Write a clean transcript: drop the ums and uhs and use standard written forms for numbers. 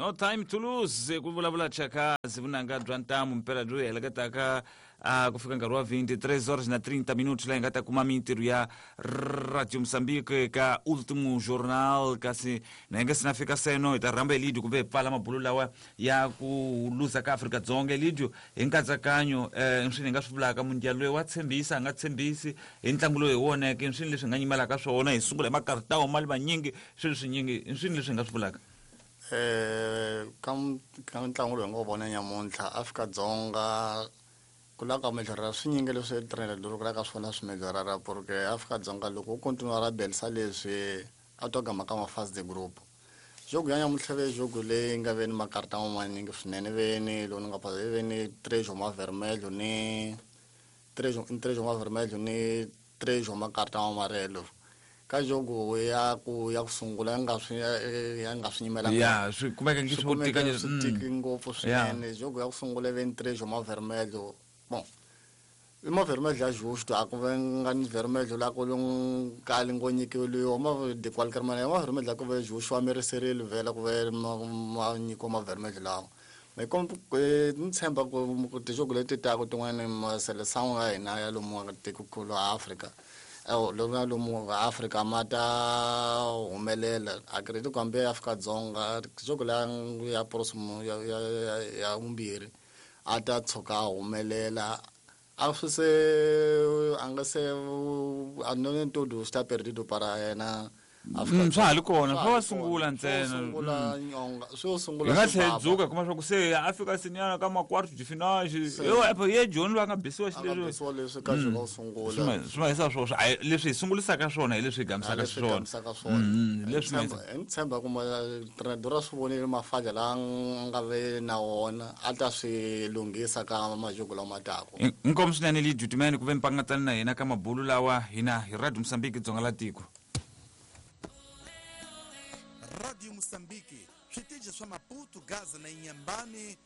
No time to lose, ku vulavula Chakazi, vunanga bya ntamu mpela byo hi heleketaka a ku fika nkarhi wa 23 horas na 30 minutos, laha hi nga ta kuma mintirho ya Radio Mozambique ka Ultimo Jornal. Kasi na hi nga se na fika seno, hi ta rhamba Elidio kumbe hi pfala mabulo lawa ya ku luza ka Afrika-Dzonga. Elidio, hi nkatsakanyo, um swi hi nga swi vulaka, mundial loyi wa tshembisa, a nga tshembisi hi ntlangu lowu hi woneke, swini leswi hi nga nyimelaka swona? Hi sungula hi makartawo mali manyingi, swilo swinyingi, swini leswi hi nga swi vulaka? Ka ntlangu lowu hi nga wu vona nyamuntlha, Afrika-Dzonga ku lava ka mejorara swinyingi leswi trainer ku lava ka swona swi mejorara, porque Afrika-Dzonga loko u continue ra belisa leswi a to gama ka ma-phase de groupe. Jogo ya nyamuntlha ve jogo leyi nga ve ni makarta manyingi swinene, ve ni lowu ni nga phasa ve ni tres ma vermelho ni tres ma vermelho ni tres makarta ma amarelo ka jogo ya ku sungula, ya nga swi nyimelanga. Ya, swi kumeka ngi swi swo tika. Kumeke swi tiki ngopfu swinene. Jogo ya ku sungula ve ni tres ma vermelho. Bon, i ma vermelho ya justo, a ku ve nga ni vermelho la ku kali ngo nyikiweliwa ma de qualquer maniera, ma vermelho la ku ve justo, a mereserile vhela ku ve ma nyikiwa ma vermelho lawa. Me comme ni tshemba ku tijogo leti taka tin'wani, maseleção ya hina ya lomu tikokulu a Afrika, lomu ya lomu Afrika, ma ta humelela. Acredito ku hambi Afrika-Dzonga jogo la ya próximo ya vumbirhi a ta tshuka a humelela. A swi se a nga se a no todo está perdido para yena. Swa ha ri kona, swo va sungula ntsena. Sungula nyonga, swo sungula. Hi nga tlhela hi dzuka kuma swa ku se a fika seniana ka ma-quarto de finale, yo epo ye joni loyi a nga bisiwa. A nga xileswi bisiwa leswi ka jogo wo sungula. Swi ma hisa swona, a leswi hi sungulisaka swona hi leswi hi gamisaka leswi swona. Gamisaka swona. Leswi ma Ni tshemba ku treinador a swi vonile mafadya lawa a nga ve na wona, a ta swi lunghisa ka majogo lama taka. Inkomu swinene, Lijutimene, ku ve mpangatani na hina ka mabulu lawa hina hi Radio Mosambiki, dzonga la tiko. Radio Moçambique, switichi swa Maputo, Gaza na Inhambane.